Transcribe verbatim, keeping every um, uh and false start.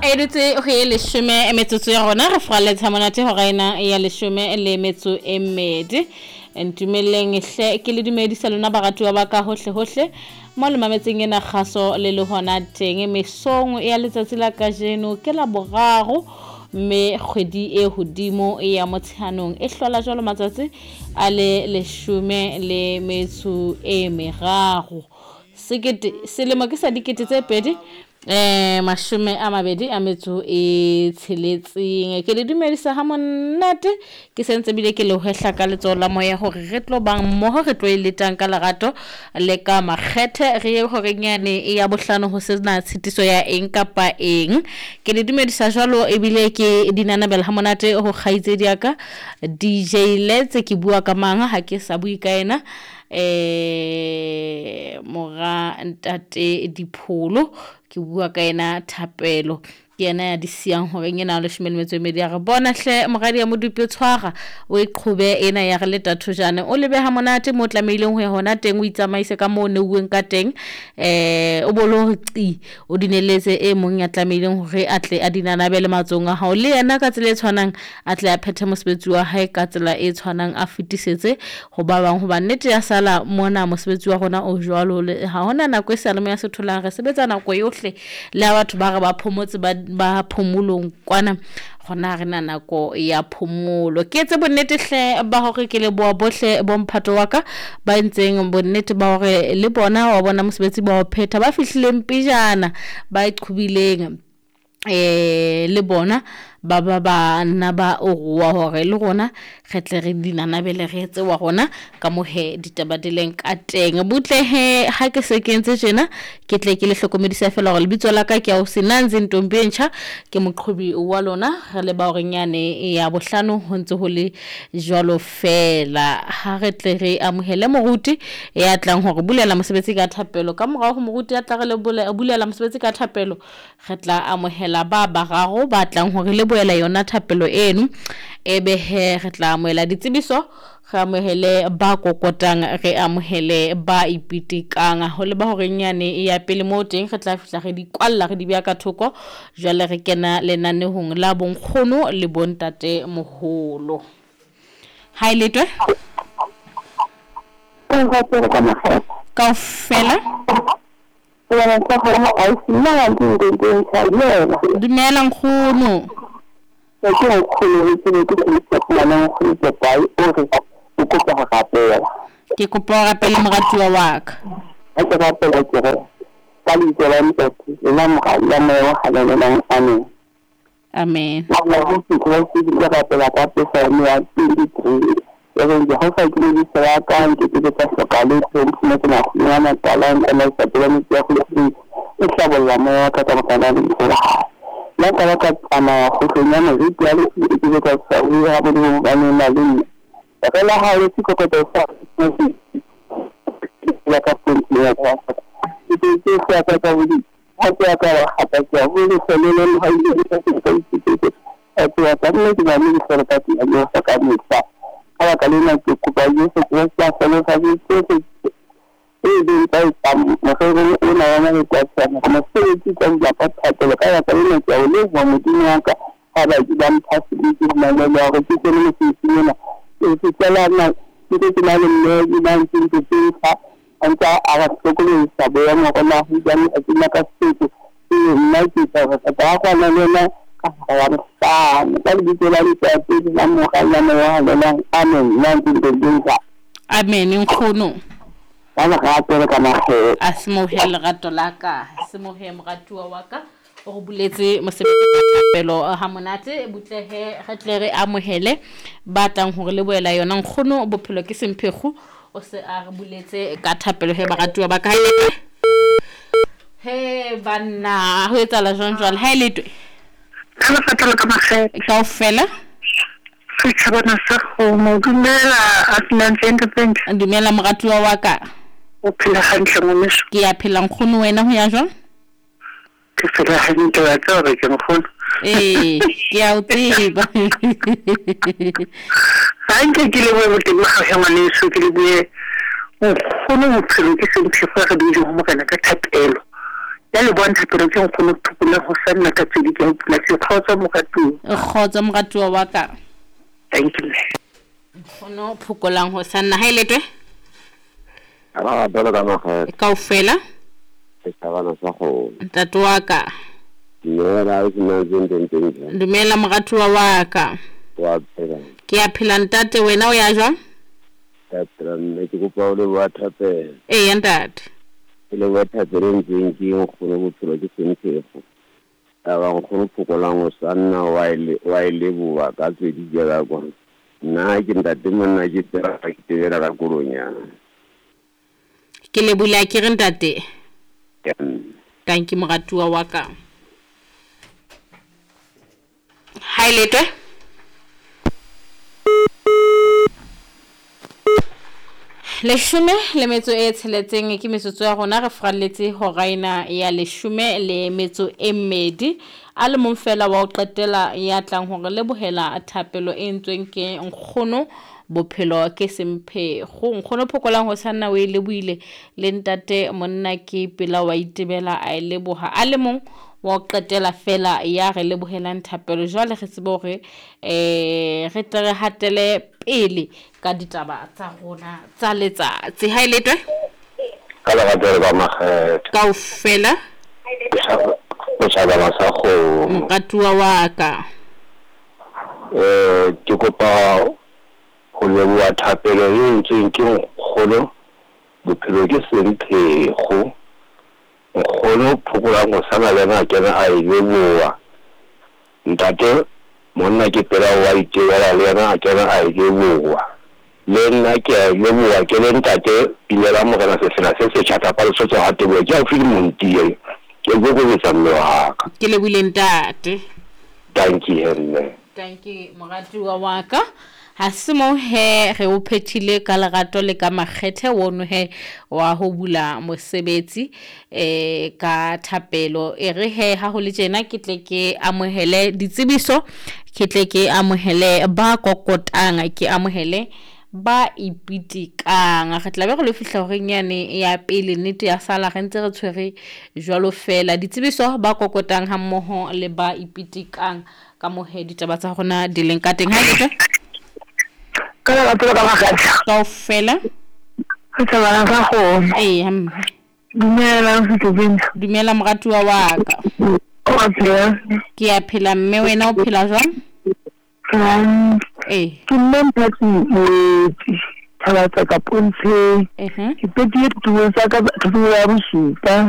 E dutse ho e leshome metsotso ya rona re furaletse monate hora ena ya leshome le metso e mmedi. Ntumelleng hle ke le dumedisa lona baratuwa ba ka hohle hohle mo le mametseng ena kgaso le le hona teng mesong ya letsatsi la kajeno ke la boraro mme kgwedi e hodimo ya Motsheanong e hlola jwalo matsatsi a le leshome le metso e meraro. Sekete selemo ke sa dikete tse pedi eh mashome a mabedi a metso e tsheletseng. Ke le dumedisa ha monate ke sentse bile ke le hwehla ka letsoho la moya hore re tlo bang mmoho re tlo e letang ka lerato le ka makgethe re ye horeng yane ya bohlano ho sena tshitiso ya eng kapa eng. Ke le dumedisa jwalo ebile ke dinanabela ha monate ho kgaitsedi ya ka D J Letse ke bua ka mang ha ke sa bue ka yena eh mora ntate Dipholo ke bua ka yena Thapelo ke yena ya di siyang hore ena leshome le metso e mmedi ya re bona hle moradi ya Modupi o tshwara o e qhobe ena ya re leta thojane o lebeha monate mo tlamehileng ho ya hona teng o itsamaise ka moo neuweng ka teng eh o bolo hore qi o dineletse e mong ya tlamehileng hore a tle a dinanabele matsong a hao le yena ka tsela e tshwanang a tle a phethe mosebetsi wa hae ka tsela e tshwanang a fetisetse ho ba bang hoba nnete ya sala mona mosebetsi wa rona o jwalo ha hona nako e sale mo ya se tholang re sebetsa nako yohle le ha batho ba re ba phomotse ba ba phomolong kwana gona re na nako ya phomolo. Ke etse bonnete hle ba hore ke leboha bohle bomphato wa ka ba entseng bonnete ba hore le bona wa bona mosebetsi ba o phetha ba fihlileng pejana ba iqhubileng eh le bona ba ba ba nna ba o hore le rona re tle re dinanabele re etse wa rona ka mohe ditaba di leng ka teng. Butle he ha ke se ke entse tjena ke tle ke le hlokomedisa fela hore lebitso la ka ke ya o Senanzi Ntombi e ntjha ke moqhobi wa lona re le ba horeng yane ya bohlano ho ntse ho le jwalo fela. Ha re tle re amohele moruti ya tlang hore bulela mosebetsi ka thapelo ka morao ho moruti ya tla re le bulela mosebetsi ka thapelo re tla amohela ba bararo ba tlang hore le boela yona thapelo eno ebe he re tla amohela ditsebiso re amohele ba kokotang re amohele ba ipitikang ho le ba horeng yane ya pele mo teng re tla fihla re di kwalla re di beha ka thoko jwale re kena lenanehong la bonkgono le bontate moholo. Ha e letwe kaofela. Dumela nkgono. Ke nkgono ke ne ke ke nkgono ke kae o re o kopa ho rapela. Ke kopa ho rapela moratuwa wa ka. Ha ke rapela ke re ka lebitso la Ntate le la Mora le la Moya o Halalelang, amen. Amen. Ke ke rapela ka Psalm ya twenty-three. E reng Jehova ke modisa wa ka, nke ke ka hloka letho, mphumetse makgolo a matala, ntsamaisa pela metsi ya kgosi, o hlabolla moya wa ka ka baka la lebitso la hae. La ka ba ka tsamaya kgohlong ya moriti ya lefu, e ke ka sa bua ha Modimo ba ne na le nna. Ka la hao le sekokotlo sa la ka ponteng ya ka. Ke ke se ka ka bodi. Ha ke ka wa hata ke ho le selele le ha ile ka se ka itse. A ke ya ka nne ke ba le se ka ke ya sa ka mehla. Ka baka lena ke kopa Jesu Kreste a hlohonolofatse tsohle tse leng tsa etsang morerong ona wa matsatsi ana. Mosebetsi ka dula ka thapelo ka baka lena ke a o leboha Modimo wa ka ha ba ba mpha sebete le mamello ya hore ke kene mosebetsing ona. Ke fihlela na ke ke na le mme ke na ntse ntse tse a ntse a re hlokomedisa boemo hore na ho jwang a tsena ka setso. Ee nna ke tla re ka kwana le yena ka hora ya bohlano. Ka lebitso la Ntate le la Mora le la Moya o Halalelang, amen. Nna ntse ntse Amen nkgono. Ka lerato le ka makgethe. A semohe lerato la ka, semohe moratuwa wa ka o re buletse mosebetsi ka thapelo ha monate butle he re tle re amohele ba tlang hore le boela yona nkgono bophelo ke semphekgo o se a re buletse ka thapelo he baratuwa ba ka. He banna ho etsahala jwang jwale ha e letwe ka lerato le ka makgethe kaofela. Setjhabana sa kgomo dumela Asinanzi Ntombi. Dumela moratuwa wa ka. O phela hantle ngwaneso? Ke ya phela nkgono wena ho ya jwang? Ke phela hantle wa tseba hore ke nkgono. Ee ke a o tseba. Hantle ke lebohe boteng ba hao ngwaneso, ke lebohe nkgono bophelo ke semphekgo re di ho Morena ka thapelo. Ya le bontsha pelo ke nkgono Phokolang ho sanna ka tsedi ke a pula se kgotsa moratuwa. Kgotsa moratuwa wa ka. Thank you. Nkgono Phokolang ho sanna ha e letwe? Ra belo ka makgetho. Kaofela? Setjhabana sa kgomo. Ntate wa ka. Dumela o sena teng. Dumela moratuwa wa ka. Wa phela. Ke a phela ntate, wena o ya jwang? Ka phela mme, ke kopa o leboha thapelo. Eya ntate. Ke leboha thapelo e ntseng ke nkgono bophelo ke semphefo. Taba nkgono Phokolang ho sanna wa e wa e leboha ka tswedi ka kwa. Nna ke ntate monna ke tsela ke tebela ka kolonyana. Ke lebohile ke re ntate. Thank you moratuwa wa ka. Ha e letwe? Leshome le metso e tsheletseng ke metsotso ya rona, re fralletse hora ena ya leshome le metso e mmedi. A le mong fela wa ho qetela ya tlang hore lebohela thapelo e entsweng ke nkgono bophelo ke semphego. Nkgono Phokolang ho sanna o e lebohile, le ntate monna ke pela wa itebela a e leboha. A le mong wa ho qetela fela ya re lebohelang thapelo. Jwale re tsebe hore eh re tle re hatele pele ka ditaba tsa rona tsa letsatsi. Ha e letwe? Ka lerato ba makgetho. Kaofela? Setjhabana sa kgomo. Moratuwa wa ka. Eh ke kopa ho leboha thapelo e entsweng ke nkgono bophelo ke semphego. Nkgono Phokolang ho sana le yena a kena a e leboha. Ntate monna ke pela wa itebela le yena a kena a e leboha. Le nna ke a e leboha ke le ntate Pilela Morena Sefela se setjha kapa Lesotho ha teboho ke haufi le Montie. Ke kokobetsa mme wa ka. Ke lebohile ntate. Thank you mme. Thank you moratuwa wa ka. Ha se mo he re o phethile ka lerato le ka makgethe wono he wa ho bula mosebetsi eh ka thapelo. E re he ha ho le tjena ke tle ke amohele ditsebiso, ke tle ke amohele ba kokotang, ke amohele ba ipitikang. Re tla be re lo fihla horeng yane ya pele, nnete ya sala re ntse re tshwere jwalo fela. Ditsebiso ba kokotang ha mmoho le ba ipitikang ka mohe ditaba tsa rona di leng ka teng. Ha ke Ka lerato ka makgetho. Kaofela? Setjhabana sa kgomo. Eya mme. Dumela Setlobeng. Dumela moratuwa wa ka. O a phela? Ke a phela mme, wena o phela jwang? Eh. Ke nna Mphathi Moeti, Thabatsa ka Pontsheng. Uh-huh. Ke petile ditulo tsa ka thuto ya bosupa.